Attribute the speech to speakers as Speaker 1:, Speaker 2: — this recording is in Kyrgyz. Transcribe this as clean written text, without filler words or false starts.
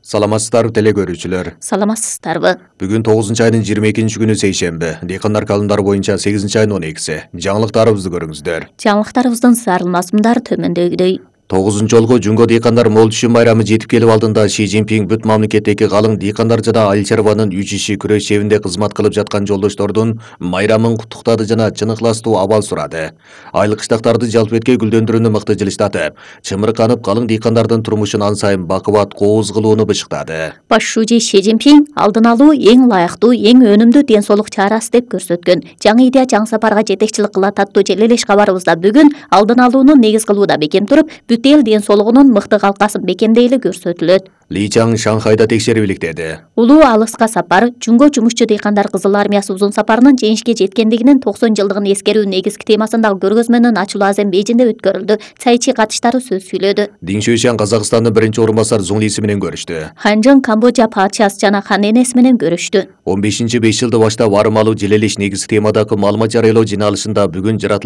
Speaker 1: Саламатсыздарбы теле көрүүчүлөр.
Speaker 2: Саламатсыздарбы.
Speaker 1: Бүгүн 9 айдын 22-күнү сейшемби. Дыйкандар календарı боюнча 8 айдын 12-си. Жаңылыктарыбызды көрүңүздөр.
Speaker 2: Жаңылыктарыбыздын зарылмасымдары төмөндөгүдөй.
Speaker 1: 9 жолго Жунго дыйкандар мол түшүм байрамы жетип келип алдында Ши Цзиньпин бүт мамлекеттеги калың дыйкандар жана айыл чарбанын 3 иши күрөш чебинде кызмат кылып жаткан жолдоштордун майрамын куттуктады жана чын ыкластуу абал сурады. Айыл кыштактарды жалпы эткей гүлдөндүрүүнү мыкты жылыштатып, чымырканып калың дыйкандардын турмушун ан сайын бакубат кооз кылууну бышыктады.
Speaker 2: Баш шужи Ши Цзиньпин алдын алуу эң ылайыктуу, эң өнүмдүү ден соолук чарасы деп көрсөткөн. Жаңы идея жаңы сапарга жетекчилик кылат аттуу желелеш кабарыбызда бүгүн алдын алууну негиз кылууда бекем туруп, бүт эл ден соолугунун мыкты калкасын бекемдейли көрсөтүлөт.
Speaker 1: Ли Чаң Шанхайда текшерип иликтеди.
Speaker 2: Улуу алыска сапар Жунго жумушчу дыйкандар Кызыл армиясы узун сапарынын жеңишке жеткендигинин 90 жылдыгын эскерүү негизги темасындагы көргөзмөнүн ачылуу Азербайжанда өткөрүлдү. Цайчи катыштары сөз сүйлөдү.
Speaker 1: Дин Шуйшан Казакстандын биринчи орун басар Зуң Лиси менен көрүштү.
Speaker 2: Ханжың Камбоджа падышасы жана хан энеси менен көрүштү.
Speaker 1: 15-5 жылды баштап арым алуу желелеш негизги темадагы маалымат жарыялоо жыйналышында бүгүн жаратылыштын